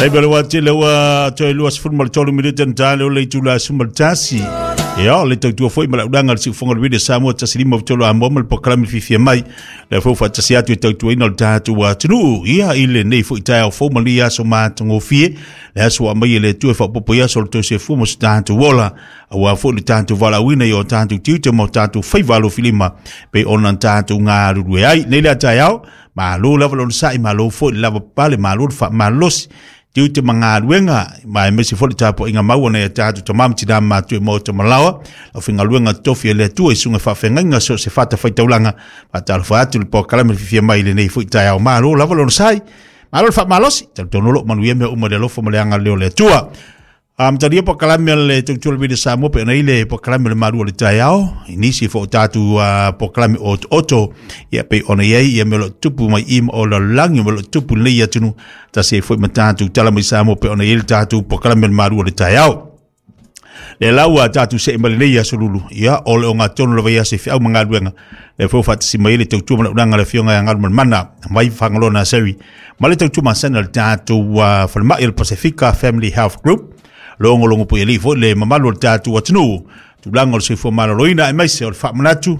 Taimi o le wā tele ua toe 23 minute na tāle o le itula 11. Ia, o le tautua foi ma le aulaga le siufoga o le Radio Samoa 153 Amoa ma le polokalame fiafia mai. Le foi faatasi atu e tautuaina o le tatou atunuu. Ia, i lenei foi taeao fou ma lenei aso matagofie. Le aso ua aumai e le Atua e faaopoopo i aso o le tau soifua ma so tatou ola. Aua foi le tatou valaauina i o tatou tiute ma o tatou faiva alofilima pei ona tatou galulue ai. Nei lea taeao, malo lava le onosai, malo foi le lava papale, malo le faamalosi, tiute ma galuega, ma aemaise foi le tapuaiga mau a nai a tatou tama ma tina matua i maota malaoa, lau faigaluega totofi a le Atua i susuga i faafeagaiga so o se fatafaitaulaga. Faatalofa atu i le polokalame fiafia mai i lenei foi taeao. Malo lava le onosai, malo le faamalosi, talitonu o lo o manuia mea uma i le alofa ma le agalelei o le Atua. Amatalia polokalame a le Tautua le Radio Samoa pe ona i le polokalame o le malu o le taeao i nisi fo o tatou polokalame otooto ia pei ona i ai ia mea o lo o tupu mai i ma o lalolagi mea o lo o tupu i lenei atunuu tasi ai foi ma tatou tala mai Samoa pei ona i ai le tatou polokalame o le malu o le taeao. Le lau a tatou see mai lenei aso lulu, ia o le ogatotonu lava ia se feau ma galuega. Le foi faatasi mai le tautua ma le auaunaga a le Afioga ia Galumalemana mai Fagaloa Naseri ma le tautua masani a le tatou falemai o le Pasefika Family Health Group. Logologo pui alii foi le mamalu o le tatou atunuu, tulaga o le soifua maloloina aemaise o le faamanatu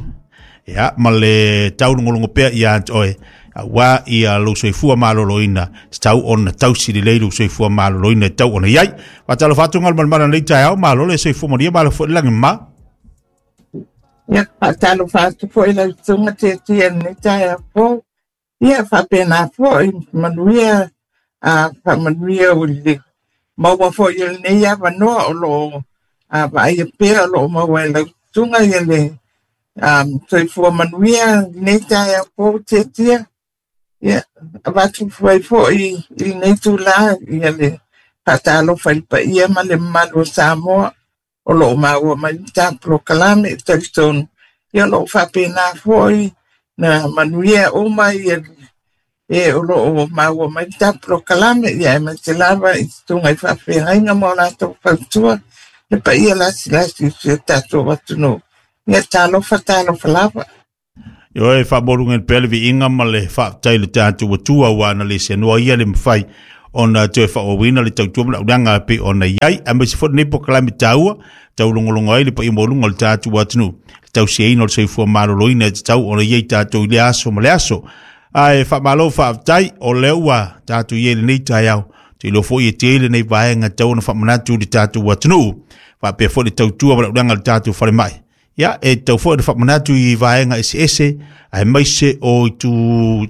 ia ma le taulogologo pea ia te oe aua ia lou soifua maloloina tatau ona tausi lelei lou soifua maloloina e tatau ona i ai. Faatalofa atu Galumalemana i lenei taeao, malo le soifua manuia, malo foi le lagi mama. Ia, faatalofa atu foi lau susuga Tiatia i lenei taeao fou. Ia, faapena foi, manuia, a faamanuia i le maua foi o lenei avanoa o lo o vaaia pea o lo o maua e lau susuga ia le soifua manuia i lenei taeao fou Tiatia. Ia, avatu ai foi i lenei itula ia le faatalofa i le paia ma le mamalu o Samoa o lo o maua mai le ta polokalame e talitonu ia o lo o faapena foi na manuia uma ia e o lo o maua mai le ta polokalame ia aemaise lava i susuga i faafeagaiga ma o latou fautua le paia lasilasi o si o tatou atunuu. Ia talofa talofa lava. Ioe, faamoluga pea le viiga ma le faafetai i le tatou Atua ua ana le seanoa ia le mafai ona toe faaauauina le tautua ma le auaunaga e pei ona i ai, aemaise foi lenei polokalame taua taulogologo ai le paia maualuga o le tatou atunuu, le tausiaina o le soifua maloloina e tatau ona i ai tatou i lea aso ma le aso. Ae faamalo faafetai, o lea ua tatou i ai i lenei taeao, ou te iloa foi e tele nei vaega e tatau ona faamanatu i le tatou atunuu, faapea foi le tautua ma le auaunaga a le tatou falemai. Ia, e tatau foi ona faamanatu i vaega eseese aemaise o itu o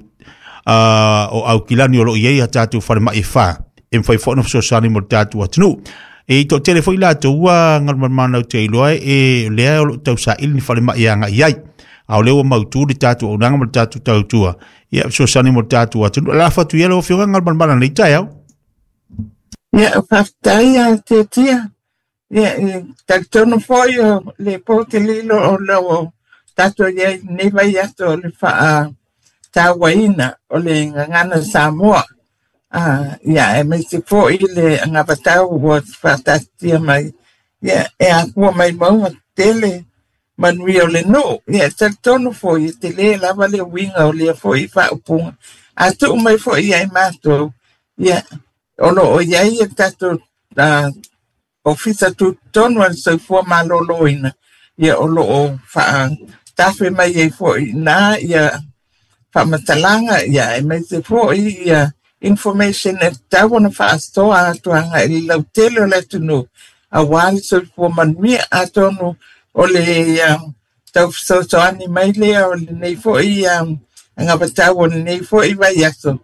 Aukilani o lo o i ai a tatou falemai e fa e mafai foi ona fesoasoani mo le tatou atunuu. E toatele foi latou ua galumalemana ou te iloa e lea o lo o tausaili ni falemai e agai i ai. A o lea ua mautu le tatou auaunaga ma le tatou tautua, ia fesoasoani mo le tatou atunuu. Lafo atu ia lau Afioga Galumalemana i lenei taeao. Ia, faafetai a Tiatia. Ia, e talitonu foi o le po te lilo o lo o tatou i ai i lenei vaiaso o le faatauaina o le gagana Samoa. Ia, aemaise foi le anavatau ua faataatitia mai, ia, e afua mai mauga tetele manuia o le nuu. Ia, e talitonu foi e tele lava le uiga o lea foi faaupuga. A tuu mai foi ia i matou, ia, o lo o i ai le tatou Ofisa Tutotonu a le Soifua Maloloina, ia o lo o faatafe mai ai foi i ina ia faamatalaga, ia aemaise foi ia information e tatau ona faasoa atu agai i le lautele o le atunuu aua le soifua manuia. Atonu o le tau fesoasoani mai lea o lenei foi anavatau o lenei foi vaiaso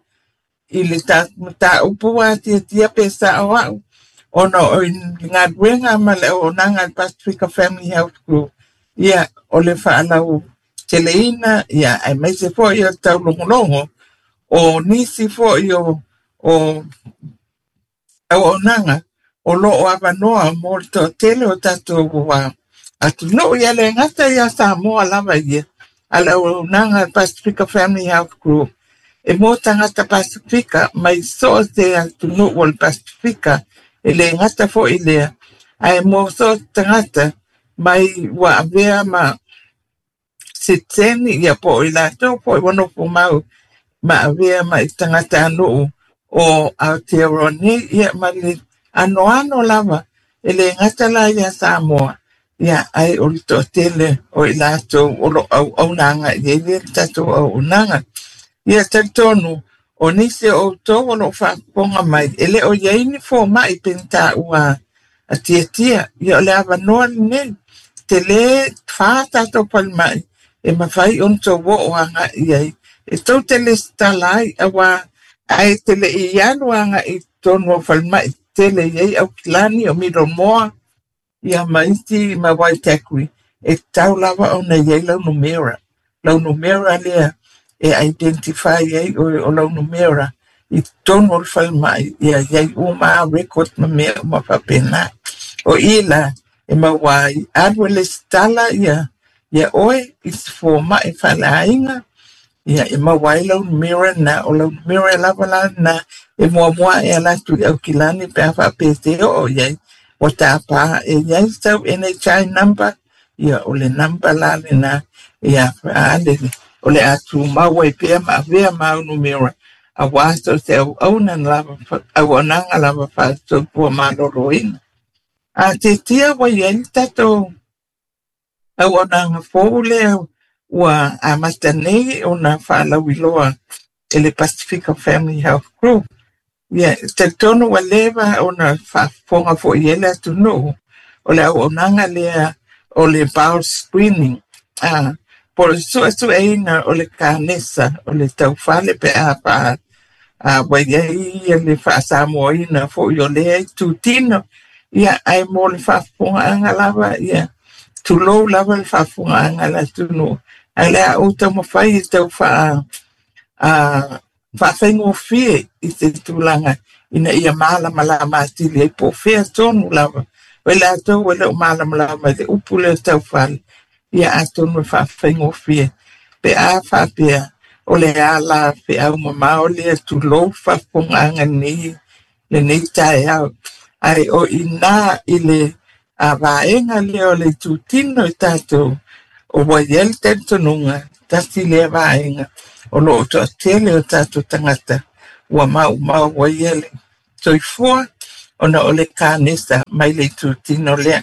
i le mataupu ua atiatia pe sao au ona o le galuega ma le auaunaga a le Pasifika Family Health Group, ia, o le faalauteleina, ia, aemaise foi o le taulogologo o nisi foi o auaunaga o lo o avanoa mo le toatele o tatou atunuu. Ia le gata ia Samoa lava ia, a le auaunaga a le Pasifika Family Health Group e mo tagata Pasifika mai so o se atunuu o le Pasifika, e le gata foi lea, ae mo so o se tagata mai ua avea ma sitiseni, ia po o i latou foi ua nofo mau ma avea mai tagatanuu o Aotearoa nei, ia ma le anoano lava e le gata la ia Samoa, ia ai o le toatele o i latou o lo auauna agai i ai le tatou auaunaga. Ia talitonu o nisi o outou o lo o faafofoga mai, e le o i ai ni fomai pe ni taua a Tiatia, ia o le avanoa lenei, tele fa tatou falemai e mafai ona tou oo agai i ai, e tou te lesitala ai, aua ae te le i alu agai i totonu o falemai tele i ai Aukilani o Middlemore, ia ma isi ma Waitakere, e tatau lava ona i ai lau numera. Lau numera lea e identify ai oe o lau numera i totonu o le falemai, ia i ai uma record ma mea uma faapena. O i la e maua ai alu e lesitala ia ia oe i se fomai faaleaiga, ia e maua ai lau numera na, o lau numera lava la na e muamua e ala atu i Aukilani pe a faapea te oo i ai, ua tapa e i ai sau NHI number, ia o le number la lena, ia ale o le a tumau ai pea ma avea mau numera, aua so se auauna lava, auaunaga lava faale-soifua maloloina. A Tiatia ua i ai le tatou auaunaga fou lea ua amata nei ona faalauiloa e le Pasifika Family Health Group. Ia, talitonu ua leva ona faafofoga foi i ai le atunuu o le auaunaga lea o le bowel screening, po o le suesueina o le kanesa o le taufale pe a faa ua i ai le faasamoaina foi o lea itutino, ia ae mo le faafofogaaga lava, ia tulou lava le faafofogaaga a le atunuu, ae le a ou taumafai e tau faafaigofie i se tulaga ina ia malamalama atili ai po o fea tonu lava. O i latou e le o malamalama i le upu lea taufale, ia atonu e faafaigofie pe a faapea o le ala feau mamao lea tulou faafofogaaga lenei taeao. Ai o ina i le vaega lea o le itutino i tatou o ua i ai le talitonuga tasi lea vaega o lo o toatele o tatou tagata ua maumau ai le soifua ona o le kanesa mai le itutino lea.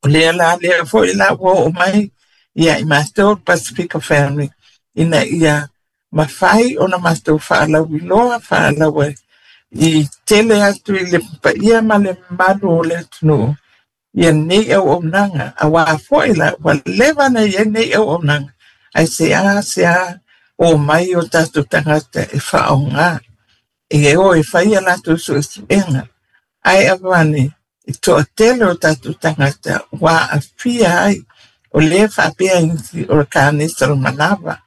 O lea la lea foi la ua oo mai ia i matou Pasifika Family ina ia mafai ona matou faalauiloa faalaua i tele atu i le paia ma le mamalu o le atunuu ia nei auaunaga, aua foi la ua leva na i ai nei auaunaga, ae se a o mai o tatou tagata e faaaoga e o e fai a latou suesuega, ae avane e toatele o tatou tagata ua aafia ai o lea faapea isi o le kanesa o le manava,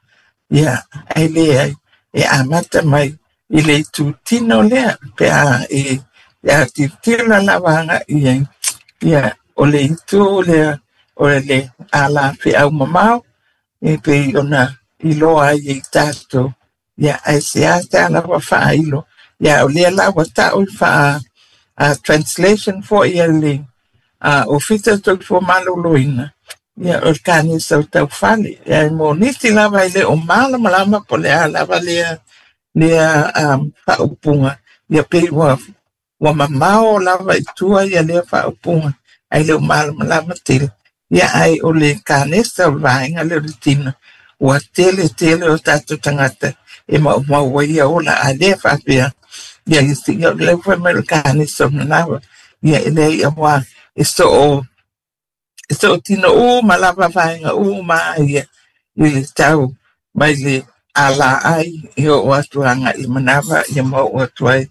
ia ae leai e amata mai i le itutino lea pe a e tilotilo lava agai i ai, ia o le itu lea o le ala feau mamao e pei ona iloa ai e tatou, ia ae se a lava faailo, ia o lea la ua ta'u faa translation foi a le Ofisa o Soifua Maloloina, ia o le kanesa o taufale, ia mo nisi lava e le o malamalama po o le a lava lea faaupuga, ia pei ua mamao lava i tua ia lea faaupuga, ae le o malamalama tele, ia ae o le kanesa o le vaega lea o le tino, ua tele tele o tatou tagata e maumau ai ia ola, a lea faapea, ia isi, ia le fai mai o le kanesa o manava, ia e leai aua e soo tino uma lava vaega uma ia i le tau mai le ala ai e oo atu agai i manava, ia ma oo atu ai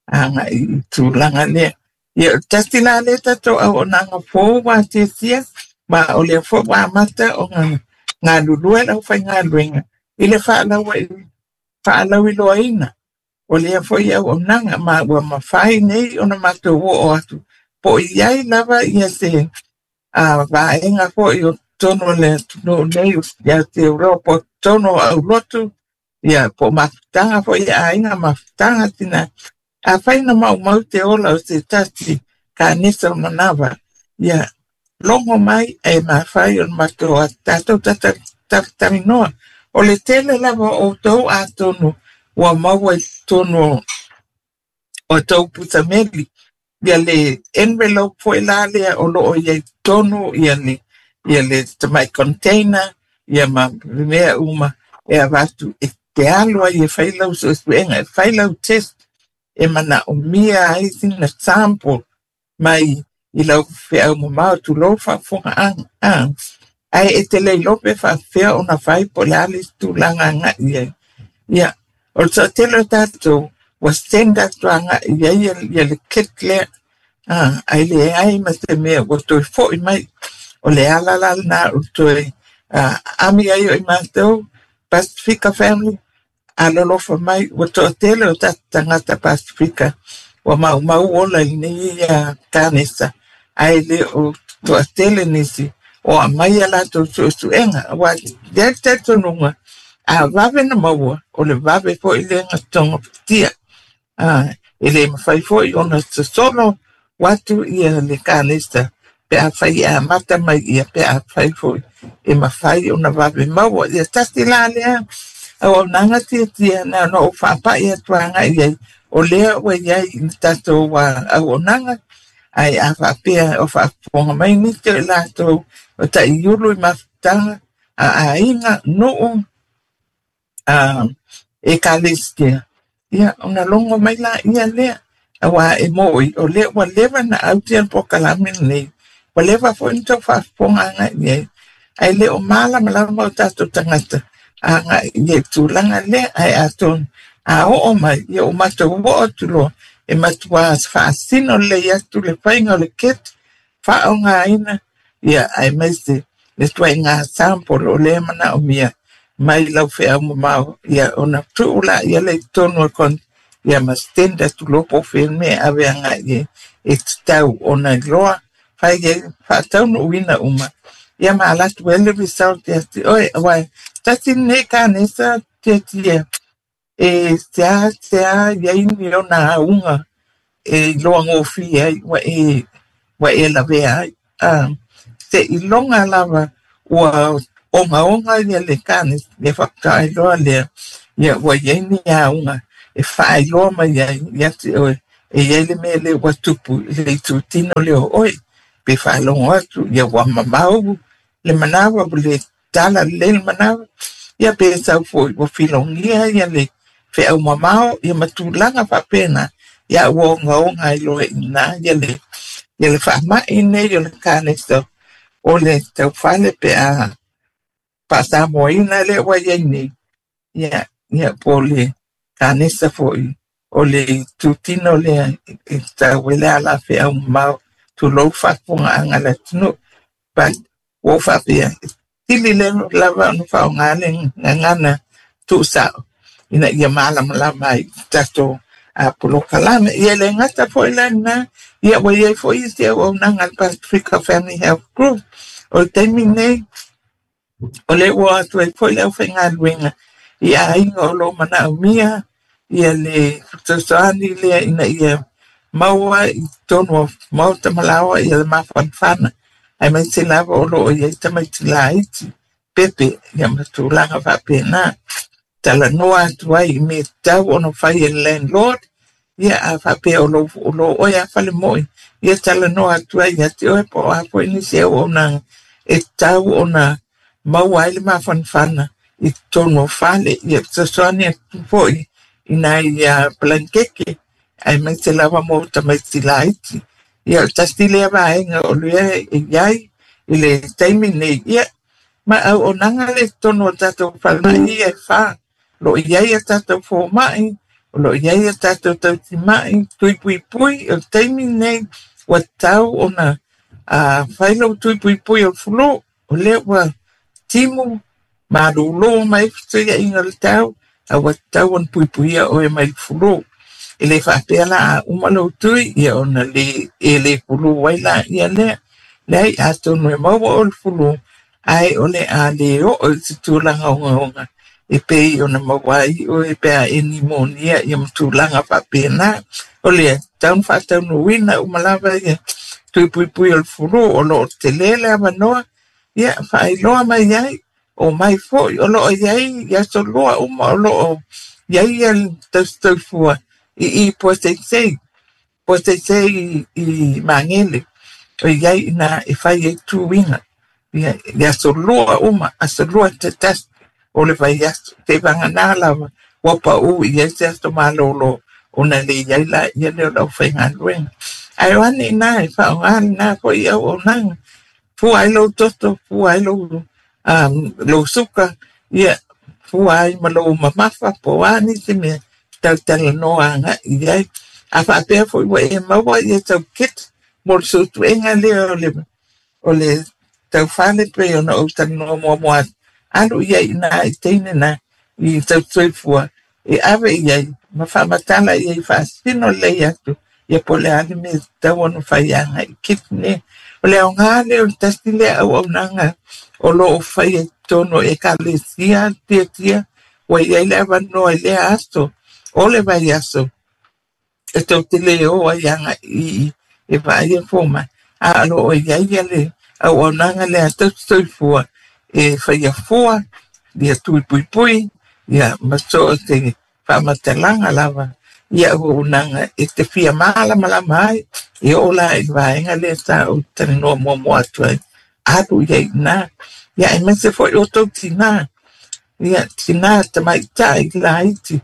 agai i tulaga lea. Ia tasi la lea tatou auaunaga fou ua tiatia, ma o lea foi ua amata ona galulue le aufaigaluega i le faalauiloaina o lea foi auaunaga, ma ua mafai nei ona matou oo atu po o i ai lava ia se vaega foi o totonu o le atunuu nei ia te Euroa po o totonu o aulotu, ia po o mafutaga foi e aiga mafutaga tina. Afai na maumau te ola o se tasi kanesa o manava, ia logo mai e mafai o matou tatou talatalanoa. O le tele lava o outou atonu ua maua i totonu o tou pusameli ia le envelope foi la lea o loo iai totonu ia le ia le tamai container ia ma mea uma e avatu e te alu ai e fai lau suesuega e fai lau test e manaomia ai sina sample mai i lau feau mamao tulou faafofogaaga ae e te le iloa pe faapefea ona fai po o le a le isi tulaga agai i ai. Ia, o le toatele o tatou ua send atu agai i ai ia le kit lea, ae leai ma se mea ua toe foi mai. O le ala la lena o le toe ami ai o i matou Pasifika family alolofa mai ua toatele o tatou tagata Pasifika ua maumau ola i lenei kanesa ae le o toatele nisi o aumai a latou suesuega aua e i ai le talitonuga a vave na maua o le vave foi lea na togafitia e le mafai foi ona sosolo atu ia le kanesa pe afai e amata mai ia pe afai foi e mafai ona vave maua. Ia tasi la lea auaunaga tiatia na ona ou faapai atu agai i ai o lea ua i ai i le tatou auaunaga ae a faapea o faafofoga mai nisi o i latou o taiulu i mafutaga a aiga, nuu, ekalesia, ia ona logo mai laia lea aua e mo'i o lea ua leva na autia le polokalame lenei ua leva foi na tau faafofoga agai i ai ae le o malamalama o tatou tagata agai i le tulaga lea ae atonu a oo mai ia ua matou oo atu loa e matua faasino lelei atu le faiga o le kit faaaogaina ia aemaise le ituaiga sample o lea manaomia mai lau feau mamao ia ona tuu laia lea i totonu o le ia ma send atu loa po o fea le mea e ave agai i ai e tatau ona iloa fai ai faataunuuina uma ia ma alu atu ai le result ia te oe aua tasi lenei kanesa tiatia e sea sea i ai ni ona auga e iloa gofie ai ua e lavea ai seiloga lava ua ogaoga ia le kanesa ia faatoa iloa lea ia ua i ai ni auga e faailoa mai ai ia te oe e i ai le mea lea ua tupu i le itutino lea o oe pe faalogo atu ia ua mamao le manawa ua le tala lelei le manawa ia pe sau foi ua filogia ia le feau mamao ia ma tulaga faapena ia ua ogaoga ai loa i ina ia le faamai nei o le kanesa o le taufale pe a faasamoaina lea ua i ai nei ia ia po o le kanesa foi o le itutino lea e tatau ai le ala feau mamao tulou faafofogaaga a le atunuu but ua ou faapea sili le lava ona faaaoga le gagana tuusao ina ia malamalama ai tatou polokalame. Ia le gata foi la lena ia ua i ai foi isi auaunaga a le Pasifika Family Health Group o le taimi nei o lea ua atu ai foi le aufaigaluega i aiga o lo o manaomia ia le fesoasoani lea ina ia maua i totonu o maota malaoa ia le mafanafana aemaise lava o loo i ai tamaiti laiti pepe ia ma tulaga faapena talanoa atu ai i mea tatau ona fai e le landlord ia a faapea o lo oe a fale moi ia talanoa atu ai ia te oe po o a foi nisi auaunaga e tatau ona maua ai le mafanafana i totonu o fale ia fesoasoani atu foi i nai palankeke aemaise lava mo tamaiti laiti ia o le tasi lea vaega o lea e i ai i le taimi nei ia ma auaunaga le totonu o tatou falemai ia e fa o lo o i ai a tatou fomai o lo o i ai a tatou tautimai tuipuipui o le taimi nei ua tatau ona fai lou tuipuipui o le fulu o lea ua timu malūlū mai fesuiaiga o le tau a ua tatau ona puipuia oe mai le fulu e le faapea la a uma lou tui ia ona le e le fulu ai la ia lea leai atonu e maua o le fulu ae o le a le oo i se tulaga ogaoga e pei ona maua ai oe pe a e nimonia ia ma tulaga faapena o lea tatau ona faataunuuina uma lava ia tuipuipui o le fulu o loo tele le avanoa ia faailoa mai ai o mai foi o loo i ai i aso lua uma o loo i ai ia le tausi soifua i Puaseisei, Puaseisei i Magele, o iai ina e fai ai tuiga. Ia, i aso lua uma, aso lua te tasi o le vaiaso, seiavagana lava ua pau i ai se aso malolo ona le i ai laia lea o le aufaigaluega. Ae o ane i ina e faaaoga lena foi auaunaga, fua ai lou toto, fua ai lou, lou suka, ia, fua ai ma lou mamafa, po o a nisi mea talatalanoa agai i ai. A faapea foi ua e maua ia sau kit mo le suesuega lea o le taufale pei ona ou talanoa muamua atu, alu i ai i ina i teine na i tausoifua e ave i ai ma faamatala i ai faasino lelei atu ia po o le a le mea e tatau ona fai agai i kit nei. O le aoga lea o le tasi lea auaunaga o lo o faia i totonu o ekalesia tiatia ua i ai le avanoa i lea aso o le vaiaso e tou te le o ai agai i e vaai e fomai, a o lo o i ai ia le auaunaga lea a tausisoifua e faia fua, ia tui puipui, ia ma so o se faamatalaga lava ia auaunaga e te fia malamalama ai, e oo la i le vaega lea sa ou talanoa muamua atu ai, alu i ai i ina. Ia aemaise foi o tou tinā, ia tinā tamaitai laiti,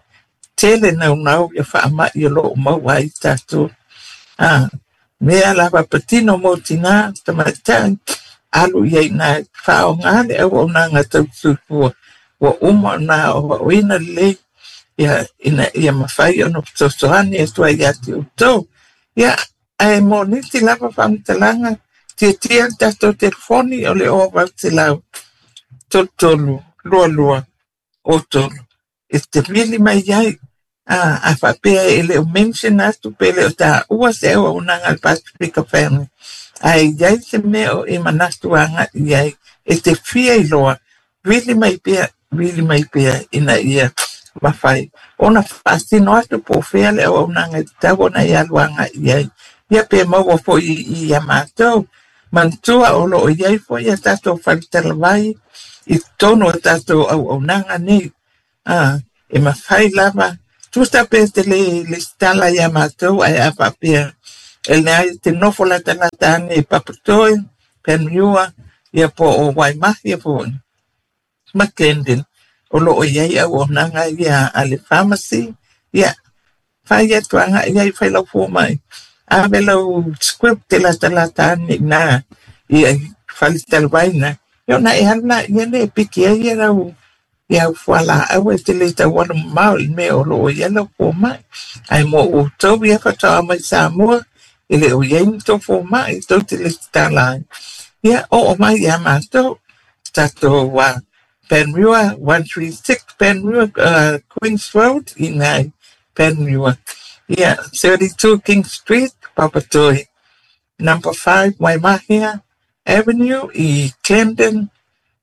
tele naunau ia faamai o lo o maua ai tatou. A mea lava patino mo tinā tamaitai, alu i ai i ina e faaaoga le auaunaga tausisoifua ua uma ona aoaoina lelei ia ina ia mafai ona fesoasoani atu ai ia te outou. Ia, ae mo nisi lava faamatalaga, tiatia le tatou telefoni o le 0800 33 22 03 e te vili mai ai. A faapea e le o mention atu pe le o taua se auaunaga a le Pasifika Family, ae i ai se mea o e manatu agai i ai e te fia iloa, vili mai pea, vili mai pea ina ia mafai ona faasino atu po o fea le auaunaga e tatau ona e alu agai i ai. Ia pe maua foi i ia matou. Manatua o lo o i ai foi a tatou faletalavai i totonu o tatou auaunaga nei. E mafai lava, tusa pe te le lesitala ia matou, ae a faapea e leai te nofo latalata ane i Papatoe, Panmure, ia po o Waimahia foi, ma Glendon, o lo o i ai auaunaga ia a le pharmacy, ia, fai atu agai i ai, fai lau fomai, ave lau script te latalata ane i ina i faletalavai na, ia ona e alu laia lea e piki ai ia lau ia au fualaau e te le tau alu mamao i le mea o lo o i ai lau fomai. Ae mo outou ia faatoa mai Samoa, e le o i ai ni tou fomai, tou te lesitala ai. Ia, oo mai ia matou, tatou Panmure, 136 Panmure, Queen's Road, i ina i Panmure. Ia, 32 King Street, Papatoe. Number 5 Waimahia Avenue i Clendon,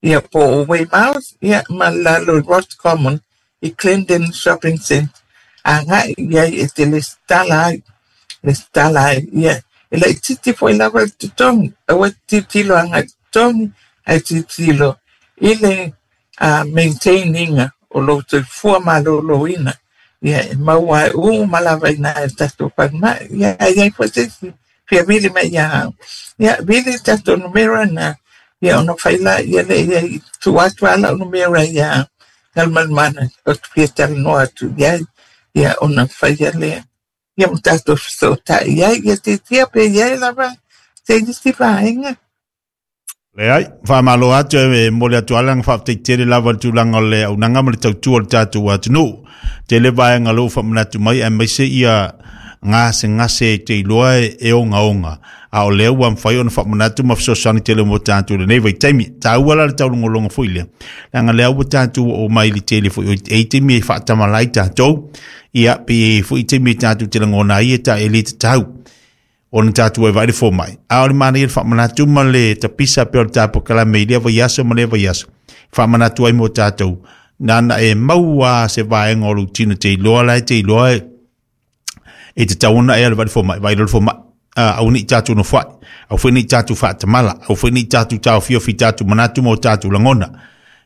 ia po o Weymouth, ia ma lalo i Roscommon i Clendon Shopping Centre. Agai i ai e te lesitala ai, lesitala ai. Ia, e laitiiti foi lava le totogi, aua e te tilotilo agai i le totogi, ae tilotilo i le maintain ina o lou soifua maloloina. Ia, e maua ai uma lava i ina e le tatou falemai. Ia, a i ai foi se isi fia vili mai ia au. Ia, vili le tatou numera na, ia ona fai laia lea i ai, tuu atu lava lau numera ia Galumalemana ou te fia talanoa atu i ai, ia ona faia lea. Ia ma tatou fesootai ai, ia tiatia pe i ai lava se isi vaega. Leai, faamalo atu e momoli atu lava le agaga faafetai tele lava i le tulaga o le auaunaga ma le tautua o le tatou atunuu. Tele vaega o lea ua faamanatu mai aemaise ia gasegase e te iloa e ogaoga, a o lea ua mafai ona faamanatu ma fesoasoani tele mo tatou i lenei vaitaimi. Taua la le taulogologo foi lea, leaga lea ua tatou oo mai i le tele foi o e i taimi e faatamala ai tatou, ia pe i ai foi taimi e tatou te lagona ai e ta e le tatau ona tatou e vaai le fomai. A o le manaia le faamanatu ma le tapisa pea o le tapokalame i lea vaiaso ma lea vaiaso, faamanatu ai mo tatou, nana e maua se vaega o lou tino te iloa la e te iloa e tatau ona e alu vaai le fomai, vaai loa le fomai. Aua ne i tatou nofoai, aua foi ne i tatou faatamala, aua foi ne i tatou taofiofi i tatou manatu ma o tatou lagona.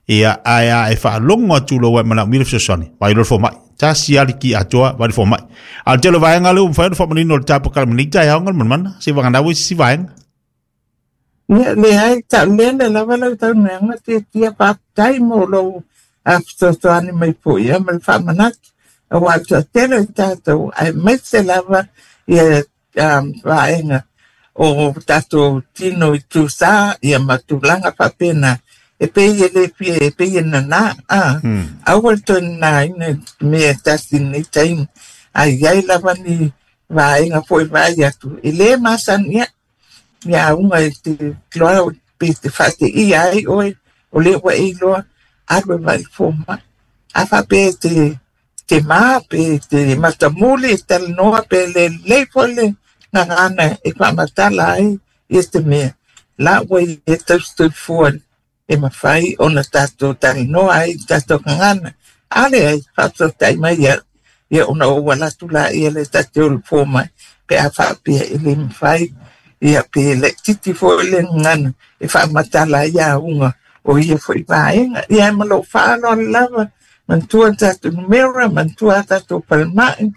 Ia, ae a e faalogo atu loa ua e manaomia le fesoasoani, vaai loa le fomai. Tasi lava le ki atoa vaai i le fomai. A o le tele o vaega lea ua mafai ona faamanino e le ta polokalame i lenei taeao Galumalemana, seivagana ua i se isi vaega. Ia, leai, taulele lava lau saunoaga Tiatia, faafetai mo lou fesoasoani mai foi ia ma le faamanatu, aua o le toatele o tatou aemaise lava ia vaega o tatou tino i tusa ia ma tulaga faapena, e pei e le fia, e pei e nana, aua le toe nanaina i mea e tasi i lenei taimi, a i ai lava ni vaega foi vaai atu, e le masani ia, ia auga e te iloa pe te faateia ai oe, o lea ua e iloa, alu e vaai i le fomai. A faapea e te te mā pe te matamuli e talanoa pe le lelei foi le gagana e faamatala ai ia te mea, la ua ia tausisoifua e mafai ona tatou talanoa ai i tatou gagana. A leai, faafesootai mai ia, ia ona ou ala atu laia lea ta te o i le fomai pe a faapea e le mafai ia pe laitiiti foi le gagana e faamatala ai auga o ia foi vaega. Ia ma lou faaaloalo lava, manatua tatou numera, manatua tatou falemai,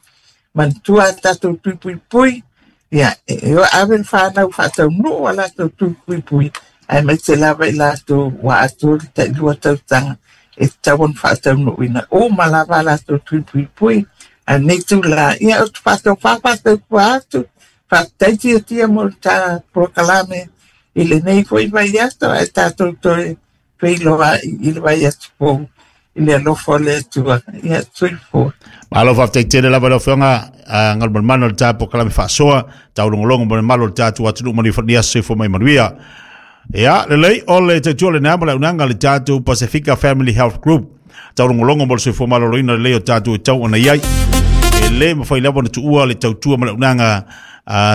manatua tatou tui puipui, ia e ave le fanau faataunuu a latou tui puipui, aemaise lava i latou ua atoa le tailua tausaga e tatau ona faataunuuina uma lava a latou tui puipui. A lenei tula, ia ou te faatofa faatautua atu, faafetai Tiatia mo le ta polokalame i lenei foi vaiaso, ae tatou toe feiloai i le vaiaso fou i le alofa o le Atua. Ia, soifua. Malo faafetai tele lava lau Afioga Galumalemana o le ta polokalame faasoa taulogologo mo le mamalu o le tatou atunuu ma le aso soifua mai manuia. Ia, lelei o le tautua lena ma le auaunaga a le tatou Pasifika Family Health Group. Taulogologo mo le soifua maloloina lelei o tatou e tau ona i ai. E le mafai lava ona tuua le tautua ma le auaunaga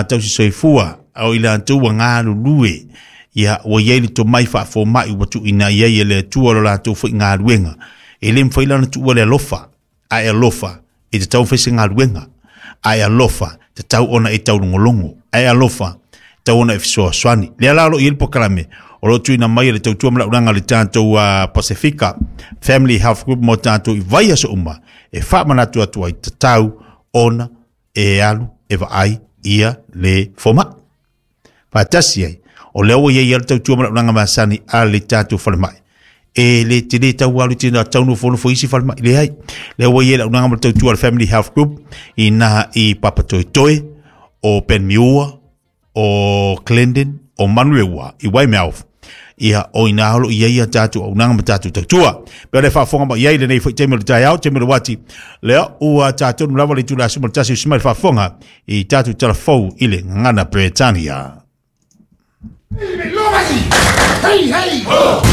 tausi soifua o i latou ua galulue. Ia, ua i ai le tomai faafomai ua tuuina i ai e le Atua lo latou foi galuega. E le mafai la ona tuua le alofa, ae alofa e tatau ona fai se galuega, ae alofa tatau ona e taulogologo, ae alofa tatau ona e fesoasoani. Lea la o lo o i ai le polokalame o lo o tuuina mai e le tautua ma le auaunaga a le tatou Pasifika Family Health Group mo tatou i vaiaso uma e faamanatu atu ai tatau ona e alu e vaai ia le fomai. Faatasi ai, o lea ua i ai le tautua ma le auaunaga masani a le tatou falemai. E le tele tau alu tena tau nofonofo isi falemai, leai. Lea ua i ai le auaunaga ma le tautua a le Family Health Group i na i Papatoetoe, o Panmure, o Clendon, o Manurewa, i Weymouth. Ia, o ina o lo o i ai a tatou auaunaga ma tatou tautua. Pe o le faafofoga mai i ai lenei foi taimi o le taeao, taimi o le uati, lea ua tatou lava le itula e 11 usi mai le faafofoga i tatou tala fou i le gagana Peretania. Hey, hey! Ho!